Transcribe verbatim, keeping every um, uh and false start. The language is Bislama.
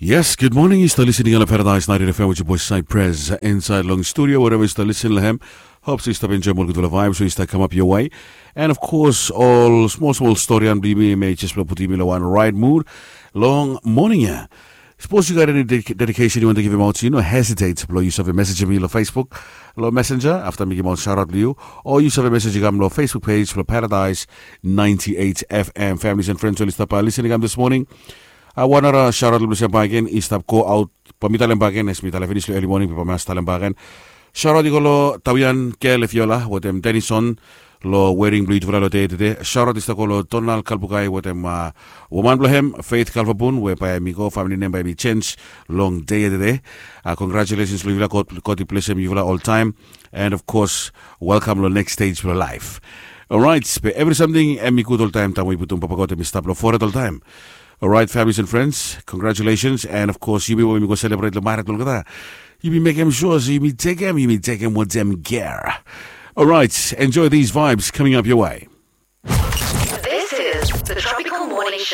Yes, good morning. Yu stap listening long Paradise ninety-eight F M with your boy Cypress inside long studio, wherever yu stap listening long hem. Hope so yu stap enjoy more gudfala vibes so yu stap come up your way. And of course, all small small story and blimi may just putim yu long one right mood long morning ya. Suppose you got any dedication you want to give him out, you know, hesitate below use of a message me on Facebook, below Messenger after making out shout out to you, or use of a message you got below Facebook page below Paradise ninety-eight F M. Families and friends, all stop by listening this morning. I want to shout out to Lucia Bagen, East up, go out, Pamita Lembagen, as Mita Lefinis, early morning, Pamita Lembagen. Shout out to Golo Tawian Kel Fiola, with them Denison, lo wedding blue for lo day today. Shout out to Golo Donald Kalbukai, with them uh, woman blo hem, Faith Kalvabun, whereby mi go, family name by mi change, long day today. Uh, congratulations, Luvila, God, God bless him, Yuvila all time. And of course, welcome lo next stage for life. All right, pe every something and mi good all time, time we put on Papa God and mi stop lo for it all time. All right, families and friends, congratulations. And of course, you be when we go celebrate the Marat Golgotha. You be making sure so you be take him, you be take him with them gear. All right, enjoy these vibes coming up your way. This is the Tropical Morning Show.